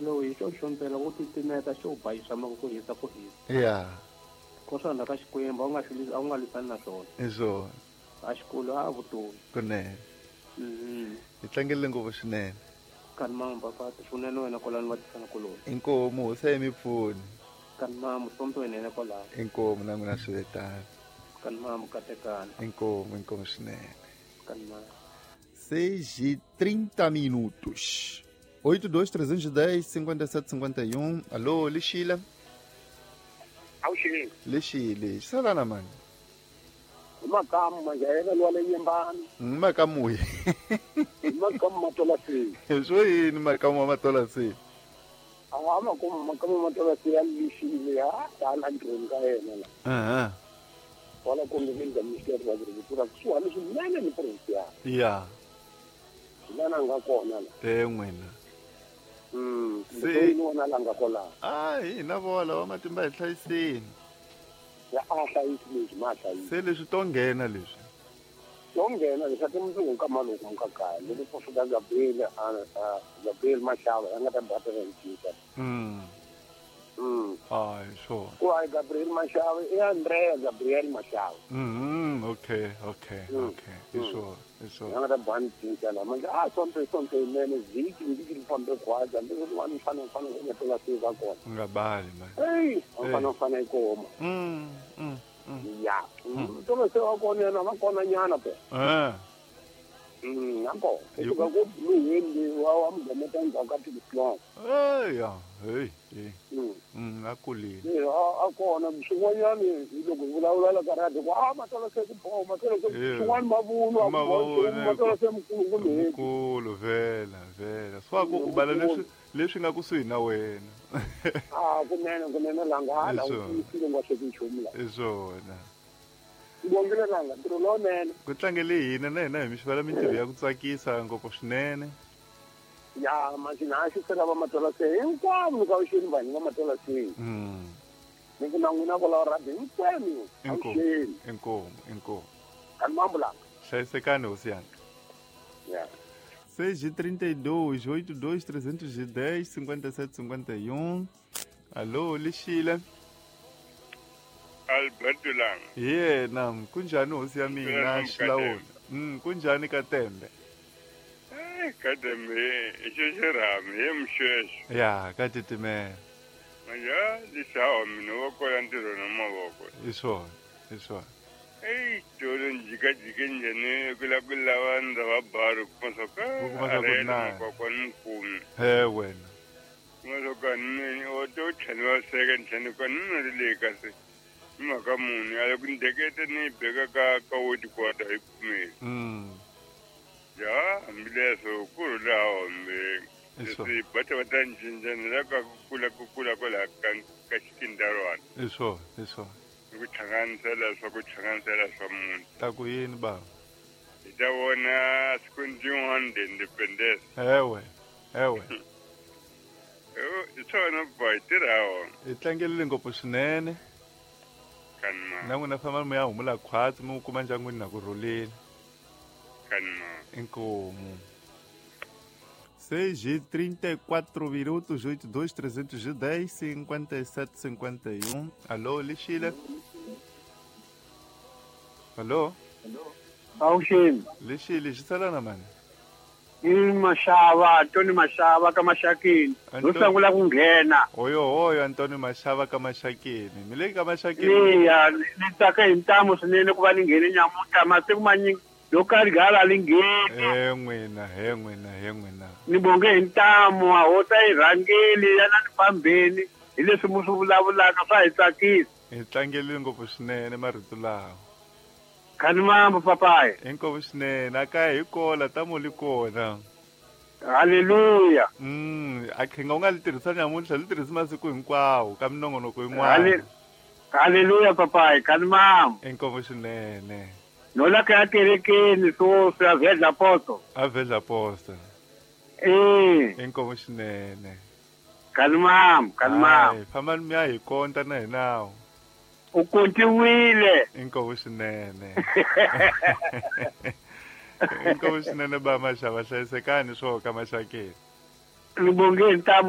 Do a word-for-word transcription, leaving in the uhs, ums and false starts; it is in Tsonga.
Ndzilo hi xo xompela wo titimeta xo bayisa mako ku hisa ku hisa. Ya. Ko swa ka Xikwembu a wu nga swi a wu nga lwisani na swona. I swona. A xikolo a vutomi. Kunene. Mhm. Hi tlangerile ngopfu swinene. Kani mama papa swinene wena kwalano va tisana kuloni. Inkomu hosi ya mipfuni. Kani mama sonto wena kwalano. Inkomu na n'wina swi vetana. Kani mama katekana. Inkomu inkomu swinene. Kani mama. seis e trinta minutos. oito dois três um zero cinco sete cinco um. Alô, Lixila. Awuxini. Lixile, salana mani. Makamu manje yena lwa le yimbani. Makamu. Makamu matola si. Swo yini makamu wa matola si? Awa makamu makamu matola si ya Lixile ha tala ntirhweni ka yena la. Aha. Wala kumbe ndza Ministry wa Agriculture kusuhani swinene ni province. Ya. Lana nga kona la. Te n'wina. Mm, se wona la nga kona. Ah, hina vola wa matimba hi hlayiseni. Ya a hlayisi leswi ma hlayisi. Se leswi to nghena leswi. To nghena leswi ati mundzuku ka maloko ka kaya loko ku fika Gabriel a Gabriel Mashava ya nga ta batela ncika. Mm. Mm. Ah, sure. Ku ai Gabriel Mashava i Andrea Gabriel Mashava. Mm, okay, okay, mm. okay. Mm. Sure, sure. Ya nga ta bani cinca la manje a sonto sonto inene vhiki vhiki ri fambe khwaja ndzi ri wani fana fana ku nga tola se va kona. Nga bali man. Hey, fana fana yi koma. Mm, mm. Mm. Ya. Tola se va kona na va kona nyana pe. Eh. Mm, nako. Ku ka ku blue wa wa mugometa ndzhaku ka tislong. Eh ya, hey, hey. Mm, mm akulile. Eh, a kona swin'wanyani loko vulavula la ka radio ku a matola se ku boha matola se swin'wana mavunwa matola se mukulu kumbe mukulu vela vela. Swa ku u bala leswi leswi nga kusuhi na wena. Ah, kunene kunene langa hala u tiyisile nga swi nchumu la. I swona. Ngongile langa ntirho lowunene. Ku tlangele hina na hina hi mi xivela mintirho ya ku tsakisa ngopfu swinene. Ya manje na xi sela va matola se hinkwavo ka uxini vanhu va matola se. Mm. Ni ku na n'wina kwalaho radio hinkwenu. Inkomu inkomu inkomu. Kani mambulanga. Hlayisekani hosi yanga. Ya. seis e trinta e dois, oito dois três um zero cinco sete cinco um. Alô, Lixila. Alberto Langa. Yena, kunjani hosi ya mina Xilawula? Mm, kunjani Katembe? Eh, Katembe, xexerami, hi mxexo. Ya, ka titimela. Manje, lixawa mina wa kola ntirho na mavoko. I swona, i swona. Ei, tolo njikajike njhani ku la ku lava ndza va baru kuma swa ka Ku kuma swa ku na. kokwana mukumi. He wena. Kuma swa ka ni o to tlhela va seka ntlhanu ka ni ri le ka se. Mhaka munhu a ku ndekete ni beka ka ka woti kwata hi kumeli. Mm. Ya, hambileswo ku rhula hombe. Leswi va ta va ta cinca ni la ka ku kula ku kula kwala ka ka xikindarwana. I swona, i swona. Ku hlanganisela swa ku hlanganisela swa munhu. Ta ku yini baba? Hi ta vona siku rin'wana the independence. Ewe, ewe. I swona boy tirha wona. Hi tlangelile ngopfu swinene. Kanma. Na n'wina famba mi ya humula khwatsi mi kuma ndyangwini na ku rhuleni. Kanma. Inkomu. seis e trinta e quatro minutos, oito dois três um zero cinco sete cinco um. Alô, Lixila. Alô? Awuxini. Lixile, xisalana mani. I Mashava, Tony Mashava ka Maxakeni. Ro sungula ku nghena. Oyo oyo Antoni Mashava ka Maxakeni. Mi le ka Maxakeni. Iya, ni tsaka hi ntamu swinene ku va ni nghene nyamuntlha masiku manyingi yo karhi gala li ngheni. He n'wina, he n'wina, he n'wina. Ni bonge hi ntamu a hota yi rhangeli ya na ni fambeni hi leswi mu swi vulavulaka swa hi tsakisa. Hi tlangelile ngopfu swinene marito lawa. Kani mambo papayi. Inkomu swinene a kaya hi kola tamo li kona. Haleluya. Mm, a khenga u nga li tirhisa nyamuntlha li tirhisi masiku hinkwawo ka minongonoko yin'wana. Haleluya papayi, kani mambo. Inkomu swinene. No la ka kerekeni so swa vedla poto. A vedla posto. Eh. Inkomu swinene. Kani mambo, kani mambo. Famba mi ya hi konta na hina. U kontiwile. Inkomu swinene. Inkomu swinene ba Mashava hlayisekani swo ka Maxakeni. Ni bonge ntamu